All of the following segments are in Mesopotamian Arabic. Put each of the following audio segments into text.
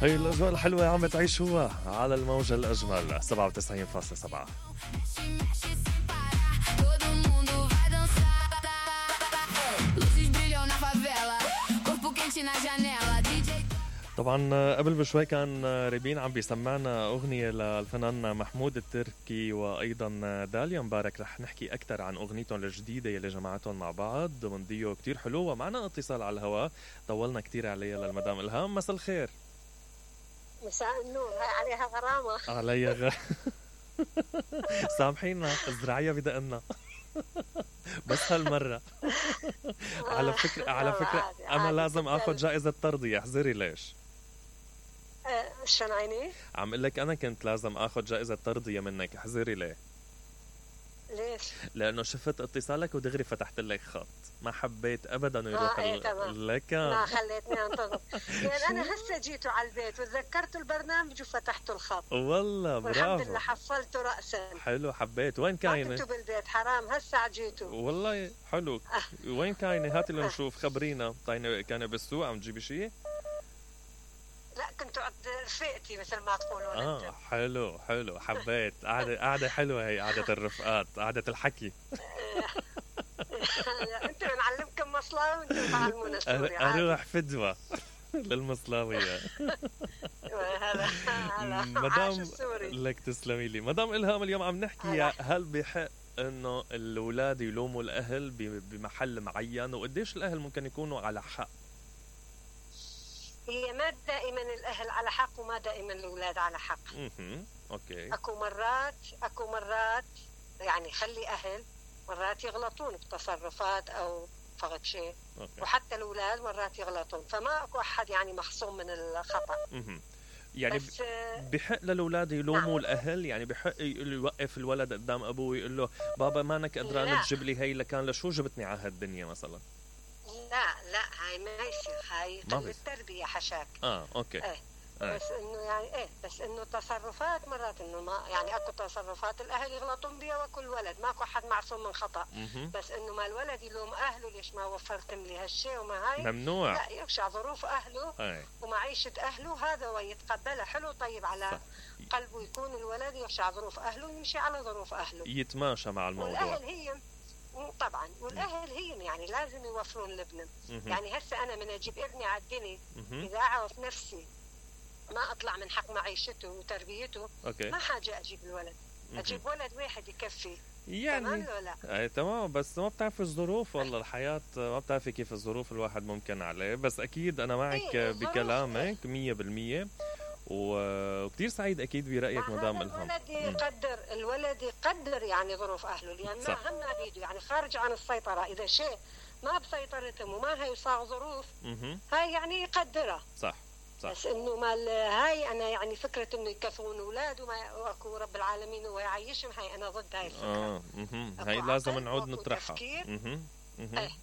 هي الأجواء الحلوة عم تعيشوها على الموجة الأجمل 97.7. طبعا قبل بشوي كان ريبين عم بيسمعنا أغنية للفنان محمود التركي وأيضا داليا مبارك. رح نحكي أكتر عن أغنيتهم الجديدة اللي جمعتهم مع بعض من ديو كتير حلو. ومعنا اتصال على الهواء طولنا كتير عليها للمدام إلهام. مساء الخير. مساء النور. هاي عليها غرامة. عليها سامحينا الزراعية بدقنا بس هالمرة. على فكرة أنا لازم أخذ جائزة ترضية. احذري ليش. شلون عيني؟ عم قل لك أنا كنت لازم أخذ جائزة ترضية منك. احذري ليه؟ ليش؟ لأنه شفت اتصالك ودغري فتحت لك خط. ما حبيت أبدا يروح لك. ما خليتني أنتظر لأن أنا هسه جيتوا على البيت وتذكرت البرنامج وفتحتوا الخط. والله برافو. والحمد لله حصلته رأسا. حلو حبيت. وين كاينة؟ كنتوا بالبيت حرام هسه جيتوا. والله حلو. وين كاينة؟ هاتي لنشوف. خبرينا. كان بالسوق عم تجيبي شيء؟ لا كنت عند رفيقتي مثل ما تقولون. حلو حبيت. قعدة حلوة هي قعدة الرفقات قعدة الحكي. انت بنعلمكم مصلاوي وانتم تعلمونا سوري. اروح فدوة للمصلاوية. هلا مدام لك تسلمي لي. مدام إلهام اليوم عم نحكي هل بحق انه الاولاد يلوموا الاهل بمحل معين وقديش الاهل ممكن يكونوا على حق؟ هي ما دائما الأهل على حق وما دائما الأولاد على حق. أوكي. أكو مرات يعني خلي أهل مرات يغلطون بتصرفات أو فقط شيء. وحتى الأولاد مرات يغلطون. فما أكو أحد يعني محصوم من الخطأ. يعني بحق للأولاد يلوموا الأهل. يعني بحق يوقف الولد قدام أبوه ويقول له بابا مانك قدران تجيب لي هي لكان لشو جبتني على هالدنيا مثلا. لا هاي ما يصير. هاي التربية حشاك. اوكي. بس انه يعني بس انه تصرفات مرات انه ما يعني اكو تصرفات الاهل يغلطون بها وكل ولد ماكو حد معصوم من خطأ. بس انه ما الولد يلوم اهله ليش ما وفرتم لي هالشيء وما هاي ممنوع. لا يخشع ظروف اهله ومعيشة اهله هذا ويتقبلها حلو طيب على قلبه يكون الولد يخشع ظروف اهله ويمشي على ظروف اهله يتماشى مع الموضوع. والاهل هي طبعا والاهل هي يعني لازم يوفرون لابنهم. يعني هسه انا من اجيب ابني على الدنيا اذا اعرف نفسي ما اطلع من حق معيشته وتربيته. ما حاجه اجيب الولد. اجيب ولد واحد يكفي يعني. تمام ولا لا؟ تمام. بس ما بتعرف الظروف والله الحياه ما بتعرفي كيف الظروف الواحد ممكن عليه. بس اكيد انا معك بكلامك 100%. وكتير سعيد أكيد برأيك مدام إلهام. الولد يقدر يعني ظروف أهله لأن ما هم بيده يعني خارج عن السيطرة. إذا شيء ما بسيطرتهم وما هي صار ظروف هاي يعني يقدرها. صح. بس إنه ما هاي أنا يعني فكرة إنه يكفون أولاد وما وأكو رب العالمين ويعيشهم هاي أنا ضد هاي الفكرة. هاي لازم نعود نطرحها.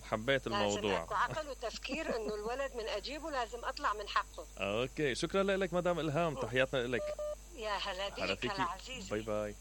حبيت الموضوع. لازم عقل وتفكير انه الولد من اجيبه لازم اطلع من حقه. اوكي شكرا لك مدام إلهام. تحياتنا لك. يا هلا بك العزيز. باي.